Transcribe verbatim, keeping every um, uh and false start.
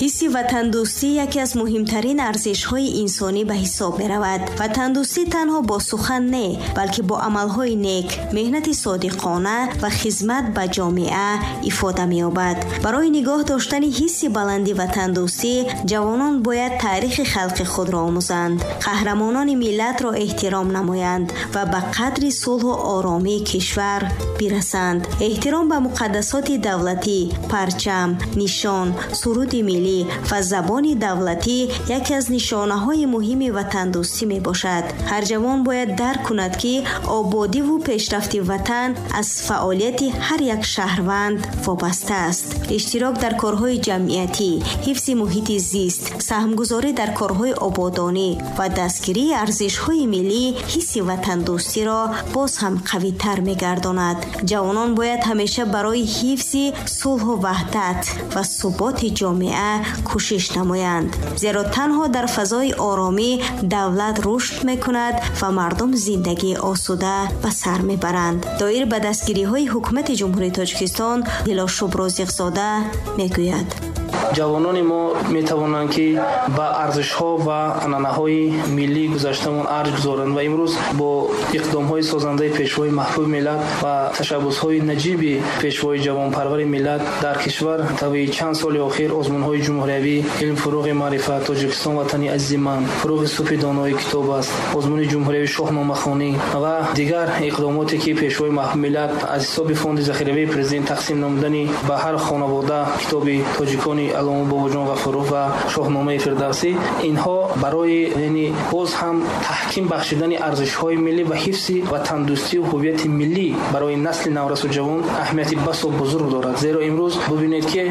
Ҳисси ватандӯстӣ яке аз муҳимтарин арзишҳои инсонӣ ба ҳисоб меравад. Ватандӯстӣ танҳо бо сухан не, балки бо амалҳои нек, меҳнати содиқона ва хизмат ба ҷомеа ифода меёбад. Барои нигоҳ доштани ҳисси баланди ватандӯстӣ ҷавонон бояд таърихи халқи худро омӯзанд, қаҳрамонони миллатро эҳтиром намоянд ва ба қадри сулҳу оромии кишвар бирасанд. Эҳтиром ба муқаддасоти давлатӣ, парчам, нишон, суруди миллӣ ва забони давлатӣ яке аз нишонаҳои муҳими ватандӯстӣ мебошад. Ҳар ҷавон бояд дарк кунад, ки ободиву пешрафти ватан аз фаъолияти ҳар як шаҳрванд вобаста аст. Иштирок дар корҳои ҷамъиятӣ, ҳифзи муҳити зист, саҳмгузорӣ дар корҳои ободонӣ ва дастгирии арзишҳои миллӣ ҳисси ватандӯстиро боз ҳам қавитар мегардонад. Ҷавонон бояд ҳамеша барои ҳифзи сулҳу ваҳдат ва суботи ҷомеа кӯшиш намоянд, зеро танҳо дар фазои оромӣ давлат рушд мекунад ва мардум зиндагии осуда ба сар мебаранд. Доир ба дастгириҳои ҳукумати Ҷумҳурии Тоҷикистон Дилошуб Розиқзода мегӯяд: Ҷавонони мо метавонанд, ки ба арзишҳо ва анъанаҳои миллии гузаштамон арҷ гузоранд ва имрӯз бо иқдомҳои созандаи Пешвои маҳбуби миллат ва ташаббусҳои наҷиби Пешвои ҷавонпарвари миллат дар кишвар тавии чанд соли охир озмунҳои ҷумҳуриявӣ «Илм — фурӯғи маърифат», «Тоҷикистон — ватани азизи ман», «Фурӯғи субҳи донои китоб аст», озмуни ҷумҳуриявии шоҳномахонӣ ва дигар иқдомоте, ки Пешвои маҳбуби миллат аз ҳисоби фонди захиравии Президент тақсим намудани ба ҳар хонавода китоби тоҷикони Аллома Бобоҷон Ғафуров ва Шоҳномаи Фирдавсӣ, инҳо барои, яъне, боз ҳам таҳким бахшидани арзишҳои миллӣ ва ҳифзи ватандӯстию ҳуввияти миллӣ барои насли наврасу ҷавон аҳамияти басо бузург дорад. Зеро имрӯз бубинед, ки